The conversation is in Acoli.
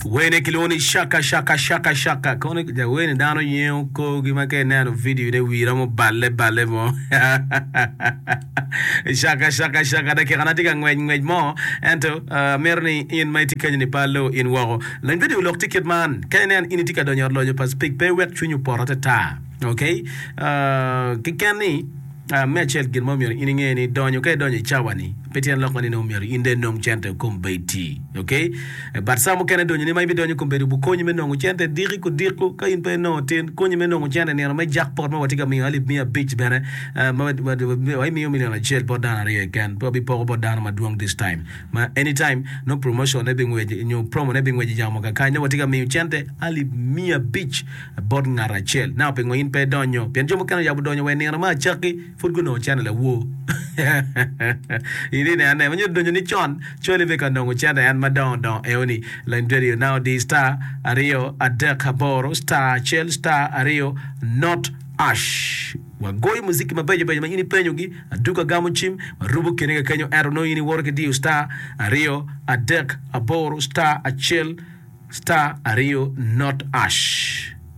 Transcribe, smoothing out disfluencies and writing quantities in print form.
Wene kilwongo ni Shaka Shaka Shaka Shaka. Kono wene dano yengo korgi ma ka ineno video ne wii romo balle balle mo. Shaka Shaka Shaka dakika na tye ka ngwec ngwec mo ento amito ni in ma itye kenyo ni pe aloo in woko. Lony video lok tye kit man, ka inen in itye ka donyo i ot lonyo pa Speke pe iwek cwinyi opot atata. Okay? Keken ni Me acel, gin mo myero in inge ni donyo ka idonyo i cawa ni pe tyen lok ni nongo myero in dong inong cente kombeddi. Ok? But cawa mukene donyo ni ma ibidonyo kombeddi obukonyi me nongo cente diki kudiko ka in pe inongo tin konyi me nongo cente nino me jackpot ma watye ka miyo alip miya abic bene ma wabimiyo million acel bot dano aryo keken pe wabipoko bot dano madwong this time ma anytime nongo promotion ne bingwec nyo promo ne bingwec iyamo kakany nongo watye ka miyo cente alip miya abic bot ngat acel. Now pingo in pe idonyo? Pien jo mukene oyabo donyo wa i nino me acakki pud gunongo cente lawor. In ineno ane, ma nyuto donyo ni con, cwali be ka nongo cente en madongo dongo eoni. Lany radio now di star aryo adek aboro star acel star aryo not ash. Wagoyo muziki mabeco beco ma in ipenyogi, aduka gamo cim, warubo kine kakenyo ento nongo in iwoto ki diyo star aryo adek aboro star acel Star aryo not ash.